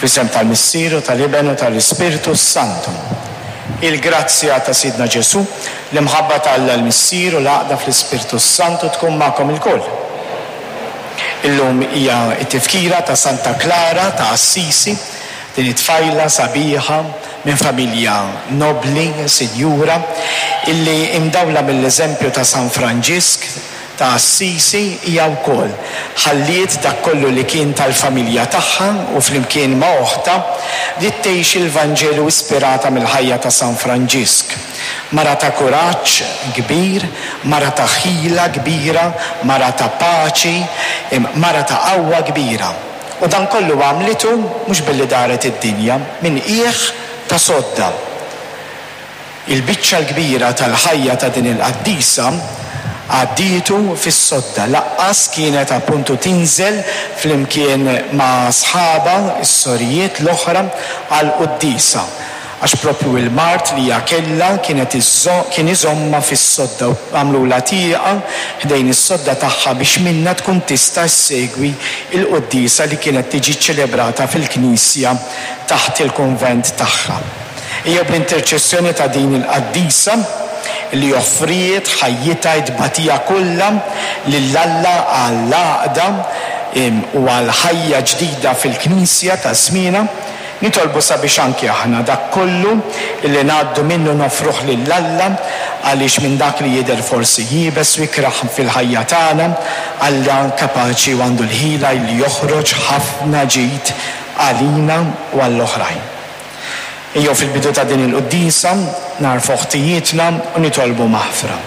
Fl-isem tal-Missier u tal-Iben u tal-Ispirtu s-Santu. Il-grazzja ta' Sidna Ġesù, l-imħabba ta' Alla l-Missier u l-għaqda fl-Ispirtu s-Santu tkun magħkom ilkoll. Illum hija t-tifkira ta' Santa Klara ta' Assisi, din it-tfajla sabiħa minn familja nobbli, sinjura, illi imdawla mill-eżempju ta' San Franġisk ta' Assisi hija wkoll ħalliet dak kollu li kien tal-familja tagħha u flimkien ma' oħtha bdiet tgħix il-Vanġelu ispirata mill-ħajja ta' San Franġisk. Mara ta' kuraġġ kbir, mara ta' ħila kbira, mara ta' paċi, mara ta' qawwa kbira. U dan kollu għamlitu mhux billi daret id-dinja, minn qiegħ ta' sodda. Il-biċċa l-kbira tal-ħajja ta' din il-qaddisa għaddietu fis-sodda, laqqas kienet appuntu tinżel flimkien ma' sħabha, is-sorijiet l-oħra, għall-quddiesa, għax proprju il-mard li hija kellha kienet kien iżommha fis-sodda u għamlulha tieqa ħdejn is-sodda tagħha biex minnha tkun tista' ssegwi l-quddiesa li kienet tiġi ċċelebrata fil-knisja taħt il-kunvent tagħha. Hija bl-interċessjoni ta' din il-qaddisa li offriet ħajjitha t-tbatija kollha lil Alla għall-għaqda u għal ħajja ġdida fil-Knisja ta' żmienha, nitolbu sabiex anki aħna dak kollu li ngħaddu minnu noffruh lil Alla għaliex minn dak li jidher forsi iebes u ikrah fil-ħajja tagħna, Alla kapaċi u għandu l-ħila li joħroġ ħafna ġid għalina u għall-oħrajn. Ejjew fil-bidu ta' din il-quddiesa nagħrfu ħtijietna u nitolbu maħfra.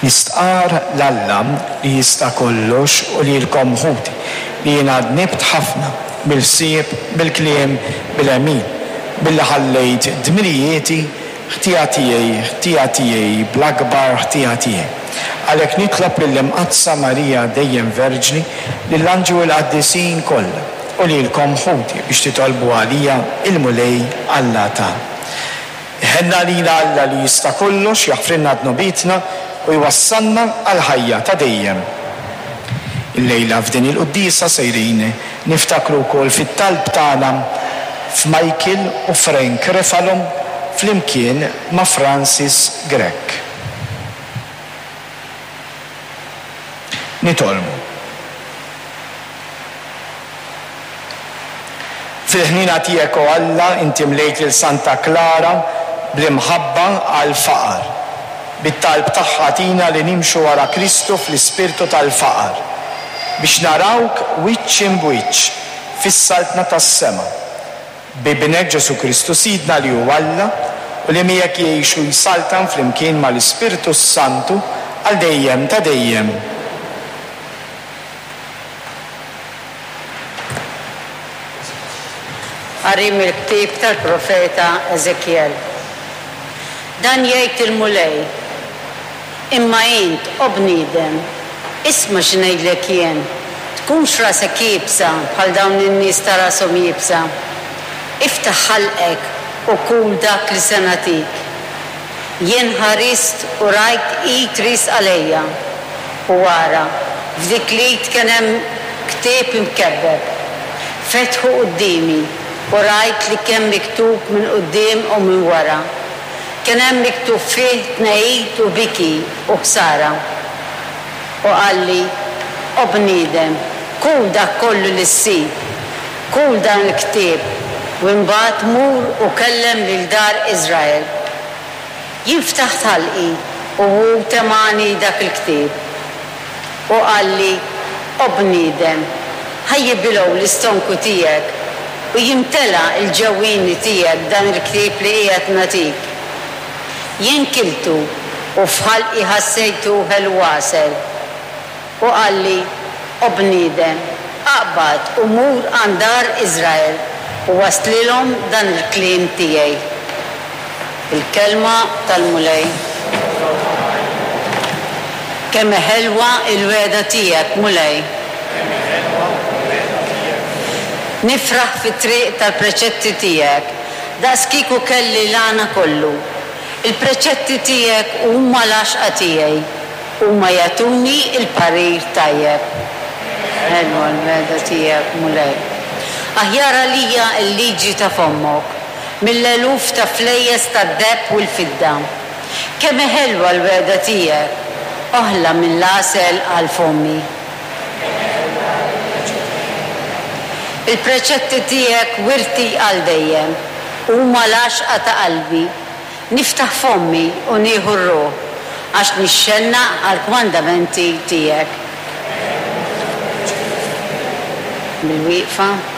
Nistqarr 'l Alla li jista' kollox u lilkom ħuti, li jiena dnibt ħafna, bil-ħsieb, bil-kliem, bil-għemil, billi ħallejt dmirijieti Ħtija tiegħi, ħtija tiegħi, bl-akbar ħtija tiegħi. Għalhekk nitlob lill-Imqaddsa Marija dejjem Verġni, lill-anġli u l-qaddisin kollha, u lilkom ħuti biex titolbu għalija il-Mulej Alla tagħna. Iħenn għalina Alla li jista' kollox, jaħfrilna dnubietna u jwassalna għall-ħajja ta' dejjem. Illejla f'din il-quddiesa sejrin niftakru wkoll fit-talb tagħna f'Michael u Frank Refalo flimkien ma' Francis Grech. Nitolbu. Fil-ħniena tiegħek, o Alla, inti mlejt lil Santa Klara bl-imħabba għall-faqar. Bit-talb tagħha agħtina li nimxu wara Kristu fl-ispirtu tal-faqar, biex narawk wiċċ imb'wiċċ fis-Saltna tas-sema. B'Ibnek Ġesù Kristu Sidna li hu Alla u li miegħek jgħix u jsaltan flimkien mal-Ispirtu s-Santu għal dejjem ta' dejjem. Qari mill-ktieb tal-profeta Eżekjel. Dan jgħid il-Mulej, Imma int, o bniedem, isma' xi ngħidlek jien, tkunx rasek iebsa bħal dawn in-nies ta' rashom iebsa. Iftaħ ħalqek u kul dak li se nagħtik. Jien ħarist u rajt id riesqa lejja, u ara, f'dik l-id kien hemm ktieb imkebbeb. Fetħu quddiemi, u rajt li kien miktub minn quddiem u minn wara. Kien hemm miktub fih tnehid u biki u ħsara. U qalli, O bniedem, kul dak kollu li ssib, kul dan il-ktieb, u imbagħad mur u kellem lil dar Iżrael. Jien ftaħt ħalqi u hu temagħni dak il-ktieb. U qalli, O bniedem, ħa jibilgħu l-istonku tiegħek, u jimtela l-ġewwieni tiegħek dan il-ktieb li qiegħed nagħtik. Jien kiltu, u f'ħalqi ħassejtu ħelu għasel. U qalli, O bniedem, aqbad u mur għand dar Iżrael u wasslilhom dan il-kliem tiegħi. Il-kelma tal-Mulej. Kemm hi ħelwa l-wegħda tiegħek, Mulej! Kemm hi ħelwa l-wegħda tiegħek, Mulej! Nifraħ fit-triq tal-preċetti tiegħek, daqs kieku kelli l-għana kollu. Il-preċetti tiegħek huma l-għaxqa tiegħi, huma jagħtuni l-parir tajjeb. Ħelwa l-wegħda tiegħek, Mulej. Aħjar għalija l-liġi ta' fommok, mill-eluf ta' flejjes tad-deheb u l-fidda. Kemm hi ħelwa l-wegħda tiegħek, oħla mill-għasel għal fommi. Il-preċetti tiegħek wirti għal dejjem, huma l-għaxqa ta' qalbi. Niftaħ fommi u nieħu r-ruħ, għax nixxennaq għall-kmandamenti tiegħek. Bilwieqfa.